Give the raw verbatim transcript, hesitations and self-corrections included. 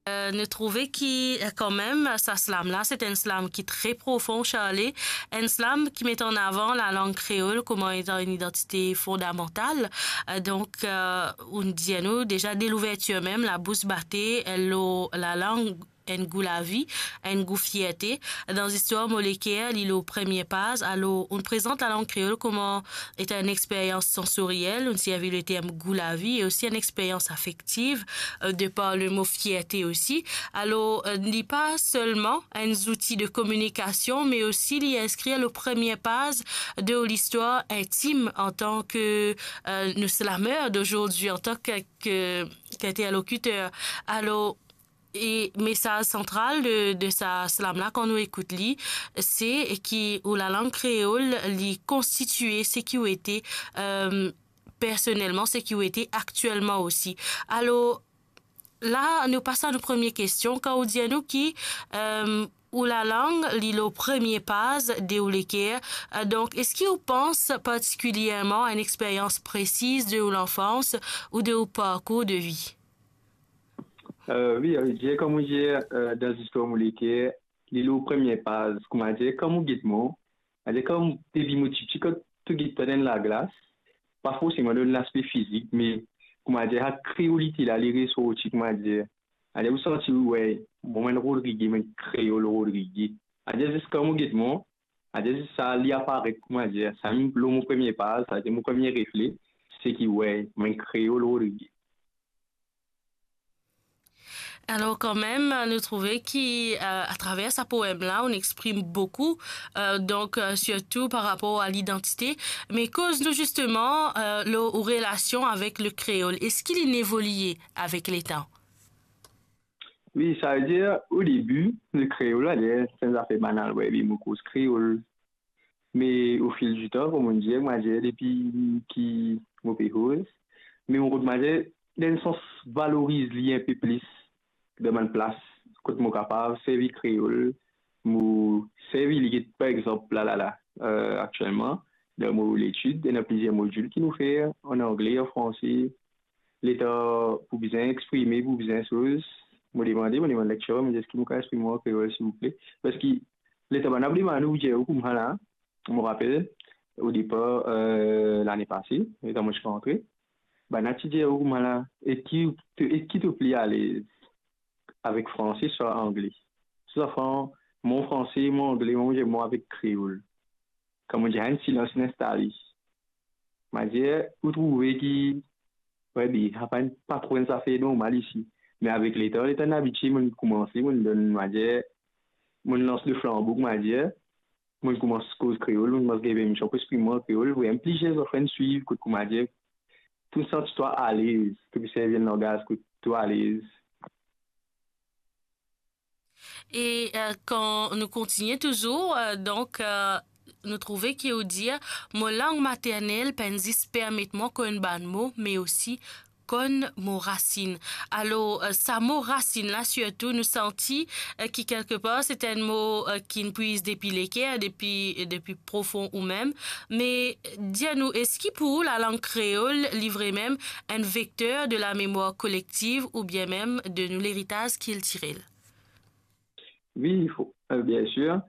Euh, nou trouve ki, euh, kanmem, sa slam la, se enn slam ki tre profon, Charlie. Enn slam ki met an avan lalang kreol kouma etan enn idantite fondamantal. Euh, donk, euh, ou'nn dir nou deza de louvertir mem, labous bate, euh, lor lalang, enn gou lavi, enn gou fierte. Dan Zistwar Mo Leker, li lor premie paz, alor, ou'nn prezant lalang kreol kouma etan enn experyans sansoriel, ou'nn servi leterm gou lavi e osi enn experyans afektiv, euh, de par lemo fierte osi. Alor, euh, li pa selman enn zouti de kominikasion, me osi li inskrir lor premie paz de ou listwar intim antan ke, euh, nou slameur d'aujourd'hui, antan ke, ke, ke interlocuteur. Alor, e mesaz santral de, de sa slam la, kan nou ekout li, se ki ou lalang kreol, li konstitie seki ou ete, euh, personelman, seki ou ete aktielman osi. Alor, la, nou pas a nou premie kestion. Kan ou dir nou ki, euh, ou lalang, li lor premie paz de ou leker, euh, donk, eski ou pans partikilyerman a enn experyans presiz de ou lanfans ou de ou parkour de vi? Euh, wi, euh, dir, kouma dir, euh, dan Zistwar Mo Leker, li lor premie paz, kouma dir, kan ou get mwa, kouma dir, kan depi mo tipti, kan to get mwa dan laglas, pa forseman dan laspe fizik, me, kouma dir, sa kreolite la, li resorti, kouma dir. Kouma dir, ou santi, we, mwa, mo enn Rodrige, mo enn kreol Rodrige. Kouma dir, zis kan mo get mwa, kouma dir, zis sa, li aparet, kouma dir, sa mem lor mo premie paz, sa, se mo premie refle, se ki, we, mo enn kreol Rodrige. Alor, kanmem, nou trouve ki, euh, atraver sa poem la, ou'nn exprim boukou, euh, donk, euh, sirtou par rapor a lidantite, me koz nou zisteman, euh, lor ou relasion avek lekreol. Eski li'nn evolie avek letan? Wi, savedir, o debi, lekreol la, se enn zafer banal, we, wi, mo koz kreol. Me o fil di tan, kouma dir, mo dir, depi ki mo pe koz, me mo rod, mo dir, dan sans valoriz li inpe plis dan bann plas kot mo kapav servi kreol, mo servi li, par exanp, la, la, la, euh, aktielman, dan mo letid, ena plizier modil ki nou fer, an angle, an franse, letan pou bizin exprime, pou bizin soz, mo demande, mo demann lektirer, mo dir, eski mo kapav exprime mwa an kreol, silvouple? Parski letan bann la demann ou, dir ou koumsa la, mo rapel, o depar, euh, lane pase, letan mo ti rantre, bann la ti dir ou koumsa la, e ki, e ki to pli alez, avek franse swa angle? Swa fran-, mo franse, mo angle, mo, mo avek kreol. Kouma dir, enn silans inn instale. Mo dir, ou trouve ki, we, be, sa pa enn, pa tro enn zafer normal isi. Me avek letan, letan mo abitie, mo koumanse, mo donn, mo dir, mo lans le flanbo, mo dir, mo koumans koz kreol, mo koumans gagn permision pou exprim mwa an kreol, we, plizier zafar inn swiv, kot, kouma dir, to santi twa alez, to pe servi enn langaz kot to alez. E, euh, kan nou kontinie touzour, euh, donk, euh, nou trouve ki ou dir, mo lang maternel pa'nn zis permet mwa konn bann mo, me osi konn mo rasinn. Alor, euh, sa mo rasinn la, sirtou, nou santi, euh, ki kelkepar, se enn mo, euh, ki'nn pwiz depi leker, depi, depi profon ou mem. Me, dir nou, eski pou ou, lalang kreol, li vremem enn vekter de lamemwar kolektiv oubien mem de nou leritaz kiltirel? Wi, fo-, euh, bien sir.